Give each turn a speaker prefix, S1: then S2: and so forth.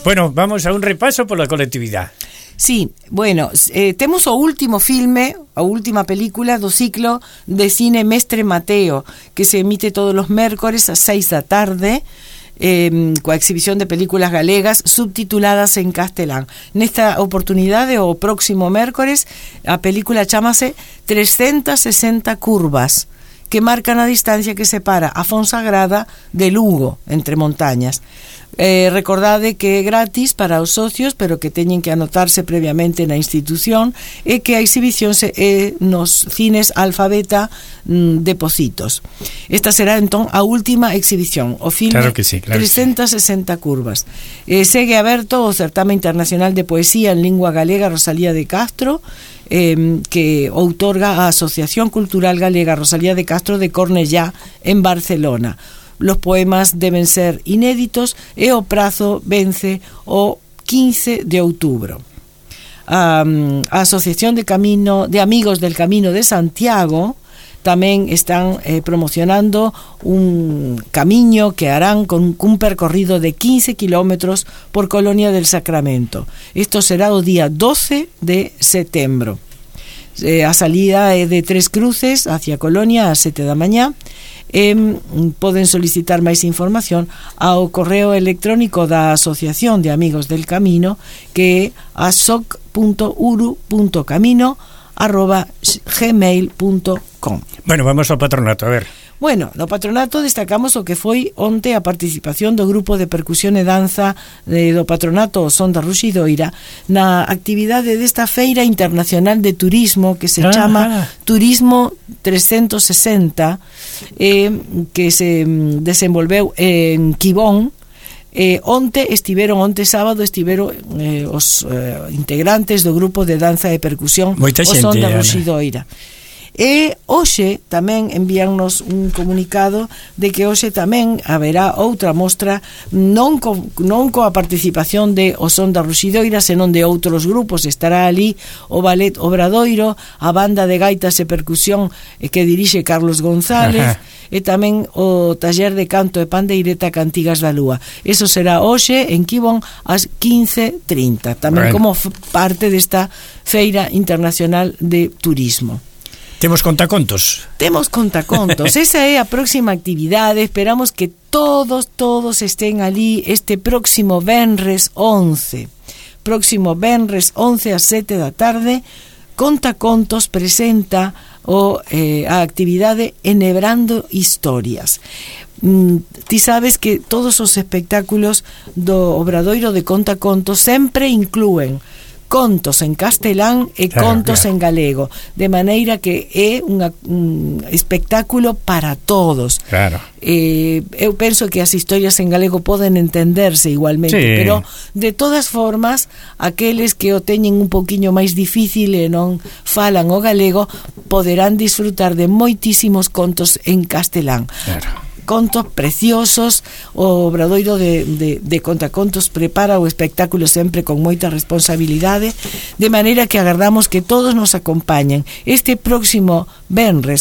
S1: Bueno, vamos a un repaso pola colectividade.
S2: Sí, bueno, temos o último filme, a última película do ciclo de cine Mestre Mateo, que se emite todos os mércores ás 6 da tarde, coa exhibición de películas galegas subtituladas en castelán. Nesta oportunidade, o próximo mércores, a película chámase 360 curvas, que marcan a distancia que separa a Fonsagrada de Lugo, entre montañas. Recordade que é gratis para os socios, pero que teñen que anotarse previamente na institución, e que a exhibición é nos cines Alfabeta de Pocitos. Esta será entón a última exhibición, o filme,
S1: claro que sí, claro
S2: 360 curvas. Segue aberto o Certame Internacional de Poesía en Lingua Galega Rosalía de Castro, que outorga a Asociación Cultural Galega Rosalía de Castro de Cornellá en Barcelona. Los poemas deben ser inéditos e o prazo vence o 15 de outubro. A Asociación de Amigos del Camino de Santiago tamén están promocionando un camiño que harán con un percorrido de 15 kilómetros por Colonia del Sacramento. Isto será o día 12 de setembro. A salida é de Tres Cruces hacia Colonia ás 7 da mañá. Poden solicitar máis información ao correo electrónico da Asociación de Amigos del Camino, que é asoc.uru.camino@gmail.com.
S1: Bueno, vamos ao patronato, a ver.
S2: Bueno, no patronato destacamos o que foi onte a participación do grupo de percusión e danza do patronato O Son da Ruxidoira na actividade desta Feira Internacional de Turismo que se chama Turismo 360, que se desenvolveu en Quibón. Onte sábado estiveron os integrantes do grupo de danza e percusión O Son da Ruxidoira. E hoxe tamén envíannos un comunicado de que hoxe tamén haberá outra mostra non coa participación de O Son da Ruxidoira, senón de outros grupos. Estará ali o Ballet Obradoiro, a banda de gaitas e percusión que dirixe Carlos González, e tamén o taller de canto e pandeireta Cantigas da Lúa. Eso será hoxe en Quibón ás 15:30, tamén como parte desta Feira Internacional de Turismo.
S1: Temos contacontos. Esa é a próxima actividade. Esperamos que todos estén ali este próximo venres 11. Próximo venres 11 ás 7 da tarde. Contacontos presenta a actividade Enhebrando Historias. Ti sabes que todos os espectáculos do Obradoiro de Contacontos sempre inclúen contos en castelán e contos en galego, de maneira que é un espectáculo para todos. Claro.
S2: Eu penso que as historias en galego poden entenderse igualmente, sí, pero de todas formas aqueles que o teñen un pouquiño máis difícil e non falan o galego poderán disfrutar de moitísimos contos en castelán.
S1: Claro.
S2: Contos preciosos. O Obradoiro de Contacontos prepara o espectáculo sempre con moita responsabilidade, de maneira que agardamos que todos nos acompañen este próximo venres